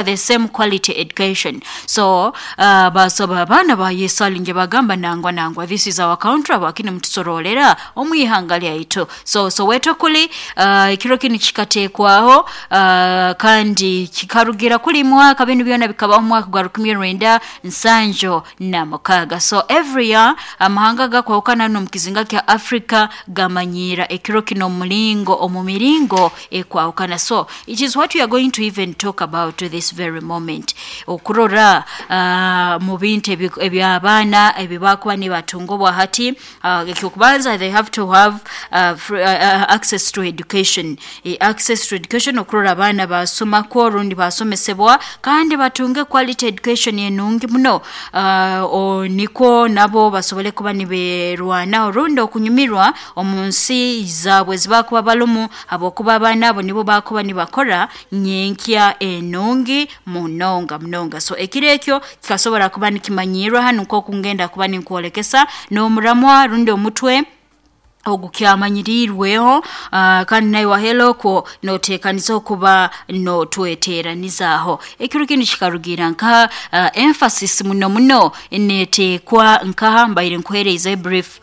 The same quality education. So basaba abaana bayesalinge bagamba, "Nangwa, nangwa, this is our country, abakini mutusorolera omwihanga lyaitu." So Soweto kuli ekiro kinu kikateekwaho kandi kikarugira kuli mwaka, binu byona bikabaho mu mwaka gwa 1976. So every year amahanga gakwahukana n'omu kizinga kya Africa gamanyiira ekiro kino omulingo omu miringo ekwahukana. So it is what we are going to even talk about to this very moment, okurora mu bintu eby'abaana ebi bakuba nibatunga obwa hati. Ekyokubanza, they have to have free access to education, access to education, okurora abaana basomako rundi basomesebwa kandi batunge quality education enungi muno, nikwo nabo basobole kuba niberwanaho rundi okunyumirwa omu nsi zaabwe ezibakuba barumu, habwokuba abaana abo nibo bakuba nibakora nyenkya enungi munonga munonga. So ekiro ekyo kikasobora kuba nikimanyirwa hanu nk'oku ngenda kuba ninkwolekesa n'omuramwa rundi omutwe ogukyamanyiriirweho, kandi naiwe wahela okwo noteekaniza okuba notweteeranizaaho. Ekiro kinu kikarugiira nka emphasis muno muno neeteekwa nkaha mbaire nkuheeraize brief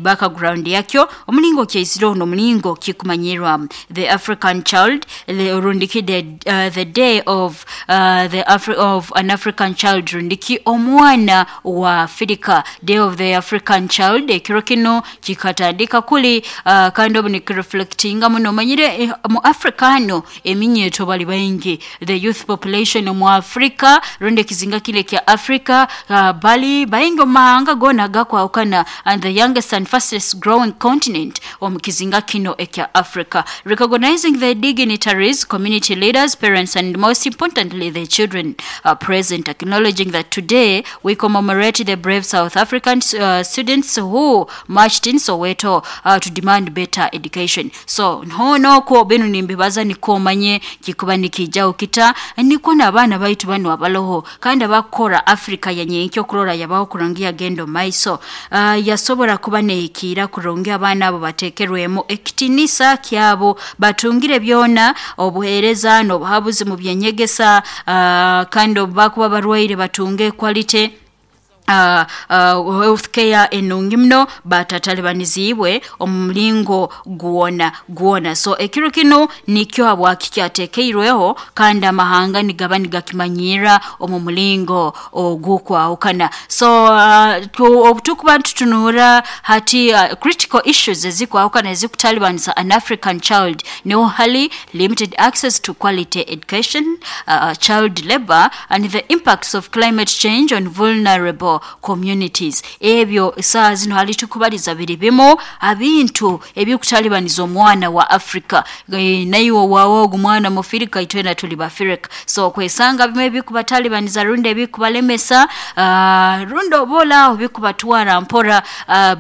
background yakyo, omulingo kyaizireho n'omulingo kikumanyirwamu the African Child, rundiki the Day of the of an African Child, rundiki omwana wa Afirika, Day of the African Child. Ekiro kinu kikatandika kuli kandi obu nikireflectinga muno. Omanyire mu Africa hanu eminyeeto bali baingi, the youth population omu Africa rundi ekizinga kinu ekya Africa bali baingi omu mahanga goona agakwahukana, and the youngest and fastest growing continent omu kizinga kino ekya Africa. Recognizing the dignitaries, community leaders, parents and most importantly the children present, acknowledging that today we commemorate the brave South African students who marched in Soweto to demand better education. So hono okwo binu nimbibaza nikwo omanye kikuba nikiijaho kita, nikwo n'abaana baitu banu abaloho kandi abakukora Africa ya nyenkya okurora yabaho kurungi, yagenda omu maiso, yasobora kuba neehikiira kurungi, abaana abo bateekerwemu ekitiinisa kyabo, batungire byona obuheereza n'obuhabuzi mu by'enyegesa, kandi obu bakuba barwaire batunge quality health care enungi muno, batatalibaniziibwe omu mulingo gwona gwona. So ekiro kinu nikyo habwaki kyateekeirweho kandi amahanga nigaba nigakimanyirra omu mulingo ogukwahukana. So obu tukuba nitutunuura hati critical issues ezikwahukana ezikutalibanisa an African child, niho hali limited access to quality education, child labor and the impacts of climate change on vulnerable communities. Ebyo saaha zinu hali tukubaliza biri bimu ha bintu ebikutalibaniza omwana wa Africa. Naiwe waawe ogu mwana mufirika, itwena tuli bafirika. So okwesanga bimu ebikubatalibaniza rundi ebikubalemesa, rundi oba oli bikubatwara mpora,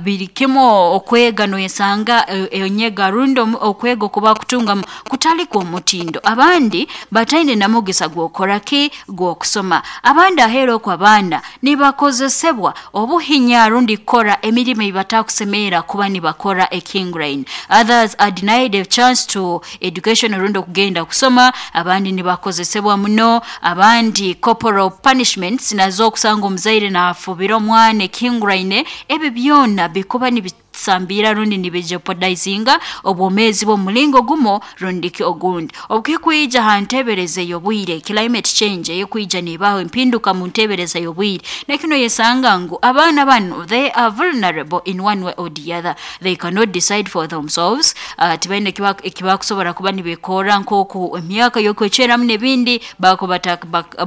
biri kimu okwega, noyesanga enyega rundi okwega oku bakutungamu kutali kw'omutindo. Abandi bataine na mugisa gw'okukora ki? Gw'okusoma. Abandi aheeru oku abaana nibakozesebwa obuhinya rundi kukora emirimo ei batakusemerra kuba nibakora ekihinguraine. Others are denied a chance to education rundi okugenda kusoma, abandi nibakozesebwa muno, abandi corporal punishments nazo okusanga omuzaire naafubira omwana ekihinguraine. Ebi byona bikuba nibisambiira rundi nibijeopardizinga obwomeezi bwe omu mulingo gumu rundi ki ogundi. Obu kikwija ha nteebereza ey'obwire, climate change eyekwija neebaho empinduka mu nteebereza y'obwire, nakyo noyesanga ngu abaana banu they are vulnerable in one way or the other. They cannot decide for themselves, tibaine eki bakusobora kuba nibeekorra nk'oku emyaka y'okwecweramu n'ebindi bakuba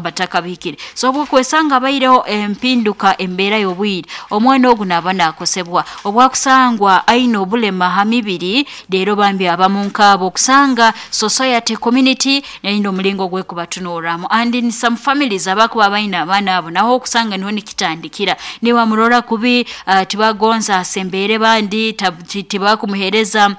batakabihikire. So obu okwesanga habaireho empinduka embeera y'obwire, omwana ogu naaba naakosebwa. Obu akusangwa aine obulema ha mibiri, reero bambi abamu nk'abo okusanga society, community eine omulingo ogw'ekubatunuurramu, and in some families abakuba baine abaana abo naho okusanga niho nikitandikira, nibamurora kubi, tibagonza asembeere bandi, tibakumuheereza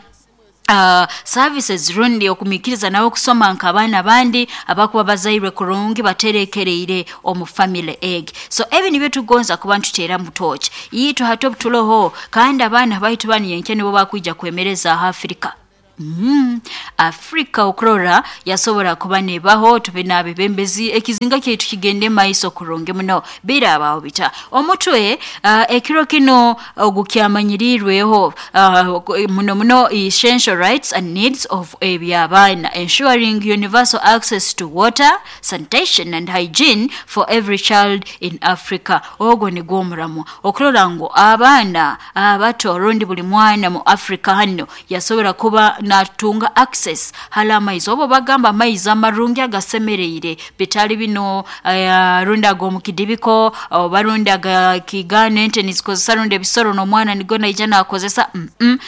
services rundi okumwikiriza nawe okusoma nk'abaana abandi abakuba bazairwe kurungi, baterekereire omu family egi. So ebi nibyo tugonza kuba nituteeramu tooci itwe hati obu turoho, kandi abaana baitu banu nyenkya nibo bakwija kwemerezaaho Africa. Afrika okurora yasobora kuba nebaho, tube n'abebembezi, ekizinga kyaitu kigende maiso kurungi muno. Birabaho bita omutwe ekiro kino ogukyamanyirirweho muno muno essential rights and needs of ebyabaana, ensuring universal access to water, sanitation and hygiene for every child in Africa. Ogwo nigwo omuramu okurora ngu abaana abato rundi buli mwana mu Africa hano yasobora kuba natunga access hali amaizi, obo bagamba amaizi amarungi agasemereire, bitali bino rundi ag'omukidibiko oba rundi agakigana ente nizikozesa rundi ebisoro n'omwana nigo naija nakozesa.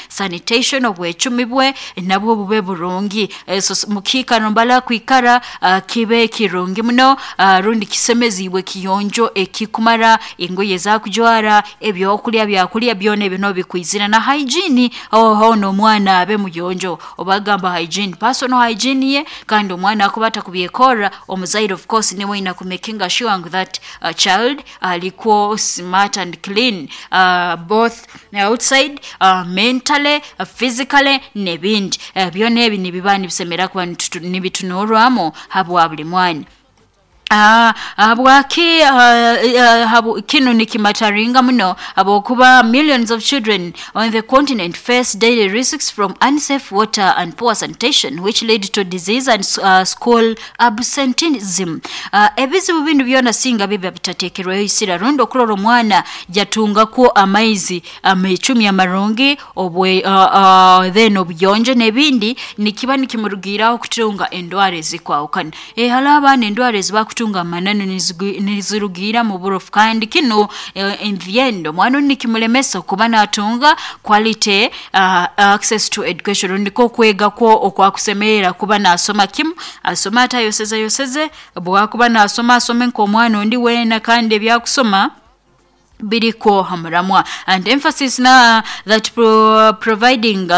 Sanitation, obwecumi bwe nabwo bube burungi, so, mukiikaro mbala kwikara kibe kirungi muno, rundi kisemezibwe, kiyonjo ekikumara, engoye ezakujwara, ebyokulya byakulya byona ebyo nobikwizira na hygiene, aho n'omwana abe muyonjo. Obagamba hygiene, personal hygiene ye, kandi omwana akuba atakubyekora omuzaire of course niwe ina kumakinga sure that child aliko smart and clean, both outside, mentally, physically n'ebindi. Byona ebi nibiba nibisemera kuba nibitunurwamu habwa buli mwana. Habwaki kinu nikimataringa muno? Habwokuba millions of children on the continent face daily risks from unsafe water and poor sanitation, which lead to disease and school absenteeism. Ebizibu binu byona singa biba bitatekerweho isira, rundi okurora omwana yatungako amaizi amecumi amarungi obwe, then obuyonjo n'ebindi, nikiba nikimurugiraho kutunga endwara ezikwahukana. Hali abaana endwara ezibakutunga amananu nizirugira mu burofu, kandi kinu in the end omwana onu nikimulemesa okuba natunga quality access to education, niko okwega kwo okwakusemerera kuba nasoma kimu, asoma atayoseze yoseze, bwakuba nasoma asome nk'omwana ondi weena, kandi ebyakusoma biriko hamuramwa. And emphasis na that providing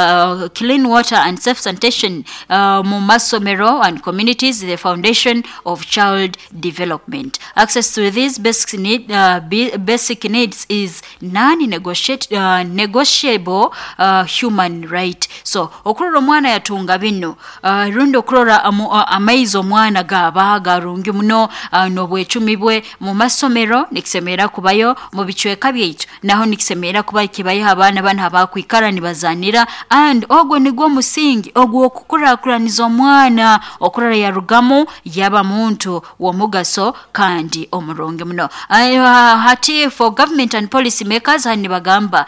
clean water and safe sanitation mu masomero and communities is the foundation of child development. Access to these basic needs is non-negotiable human right. So okurora omwana yatunga bino, rundi okurora amaizi omwana gaba garungi muno, n'obwecumi bwe mu masomero nikisemera kubayo, mu bicweka byaitu naho nikisemera kuba kibayo, abaana bano abakwikara nibazanira, and ogwo nigwo omusingi ogw'okukurakuraniza omwana okurora yarugamu yaba muntu w'omugaso kandi omurungi muno. Hati for government and policy makers, hani nibagamba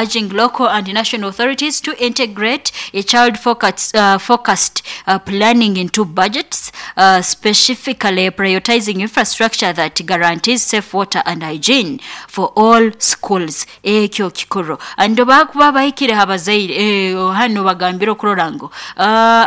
urging local and national authorities to integrate a child focused planning into budgets, specifically prioritizing infrastructure that guarantees safe water and hygiene for all schools. Ekyo kikuru. Ando bakuba bahikire abazaire, hano bagambira okurora ngu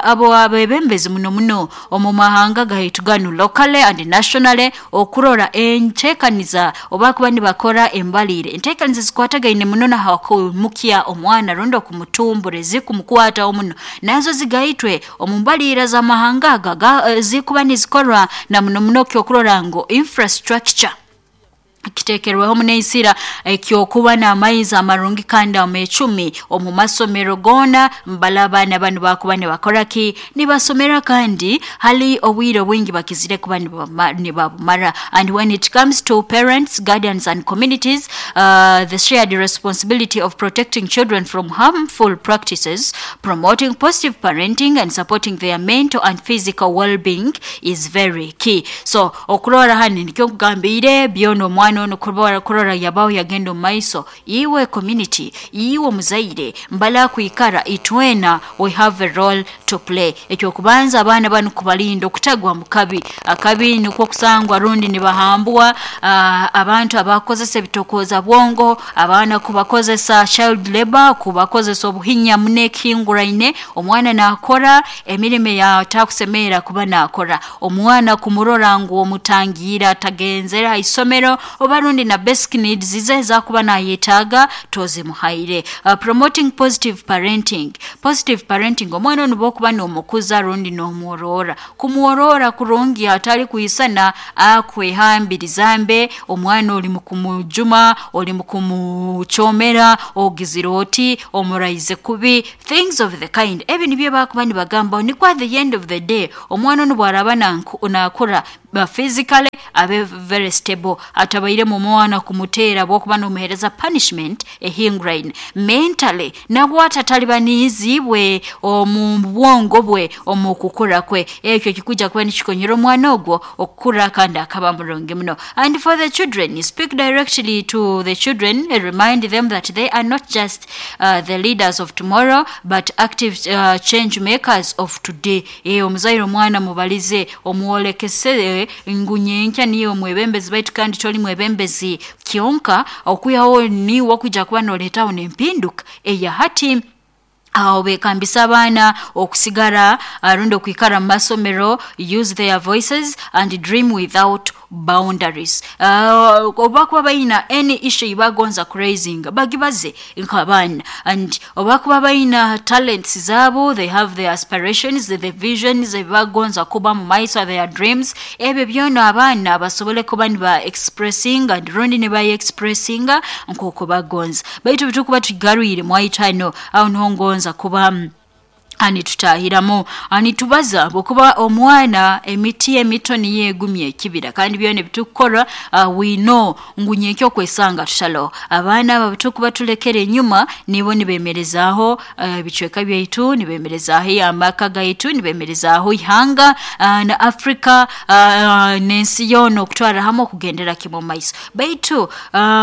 abo abebembezi muno muno omu mahanga gaitu ganu, locally and nationally, okurora entekaniza oba kuba nibakora embalire, entekaniza zikwatagaine muno nahakumukya omwana rundi okumutumbura, ezikumukwataho muno nazo zigaitwe omu mbalire z'amahanga aga zikuba nizikorwa, na muno muno kyokurora ngu infrastructure kitekerweho muneisira ekyokuba n'amaizi amarungi kandi amecumi omu masomero gona, mbala abaana banu bakuba nibakora ki, nibasomera, kandi hali obwire obwingi bakizire kuba nibabumara. And when it comes to parents, guardians and communities, the shared responsibility of protecting children from harmful practices, promoting positive parenting and supporting their mental and physical well-being is very key. So okurora hani nikyo nkugambire byona, omwana ono kurora yabaho yagenda omu maiso, iwe community, iwe omuzaire mbala kwikara, itwena we have a role to play. Ekyokubanza, abaana banu kubalinda okutagwa mu kabi. Akabi nikwo kusangwa rundi nibahambwa abantu abakozesa ebitokoza bwongo, abaana kubakozesa child labor, kubakozesa obuhinya muno ekihinguraine, omwana nakora emirimo yatakusemerera kuba nakora, omwana kumurora ngu omutangira atagenzere ha isomero. Oba rundi na basic needs ze ezakuba nayetaaga tozimuhaire. Promoting positive parenting. Positive parenting, omwana onu bwokuba n'omukuza rundi n'omworora, kumworora kurungi, atali kwisana akwehambiriza mbe omwana oli mukumujuma, oli mukumuchomera, ogizire oti omuraize kubi, things of the kind. Ebi nibyo bakuba nibagamba nikwo at the end of the day omwana onu bwaraba nakura physically abe very stable, atabairemu omwana kumuteera bwokuba nomuheereza punishment ehinguraine. Mentally nabwo atatalibaniizibwe omu bwongo bwe omu kukura kwe, ekyo kikuja kuba nikikonyera omwana ogwo okukura kandi akaba murungi muno. And for the children, speak directly to the children, remind them that they are not just the leaders of tomorrow but active change makers of today. Omuzaire omwana mubalize, omwolekese ngu nyenkya niyo omwebembezi baitu kandi toli mwebembezi kyonka, okwihaho niwe okuja kuba noleetaho n'empinduka eya hati. Aho bekambisa abaana okusigara rundi okwikara mu masomero, use their voices and dream without boundaries. Oba kuba bayina any issue ibagonza kuraising, bagibaze nk'abaana. And oba kuba bayina talents zabo, they have their aspirations, the visions ebibagonza kuba mu maiso, their dreams, ebyo byona abaana basobole kuba niba expressing and rundi niba expressinga nk'oku bagonza. Baitu bitukuba tugarwire mwaitano aho niho ngonza kuba anitutahiramu anitubaza bwokuba omwana emiti emito niyo egumya ekibira, kandi byona ebitukukora we know ngu nyenkya okwesanga tutalo. Abaana aba bitukuba tulekere enyuma nibo nibemerezaaho ebicweka byaitu, nibemerezaaho amaka gaitu, nibemerezaaho ihanga na Africa n'ensi yoona okutwara hamwe okugendera kimwe omu maiso. Baitu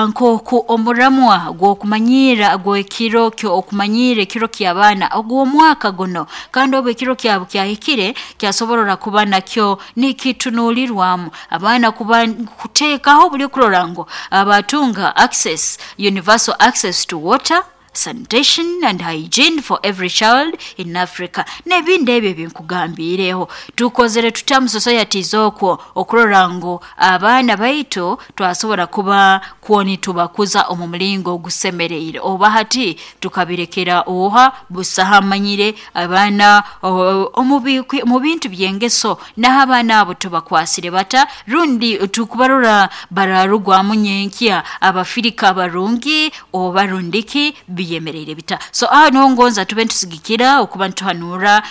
nk'oku omuramwa gw'okumanyiira gw'ekiro okumanyira ekiro ky'abaana ogw'omwaka guno, kandi obu ekiro kyabo kyahikire kyasoborora kuba nakyo nikitunuulirwamu abaana kuba kuteekaho buli kurora ngu abatunga access, universal access to water, sanitation and hygiene for every child in Africa. N'ebindi ebyo ebinkugambiireho tukozere tuta mu societies okwo okurora ngu abaana baitu twasobora kuba kwo nitubakuza omu mulingo ogusemereire, oba hati tukabirekera oha busaha amanyire abaana omu bintu by'engeso, naho abaana abo tubakwasire bata rundi tukubarora bararugwamu nyenkya abafirika abarungi oba rundiki biyemereire bita. So aho niho ngonza tube nitusigikira okuba nituhanura.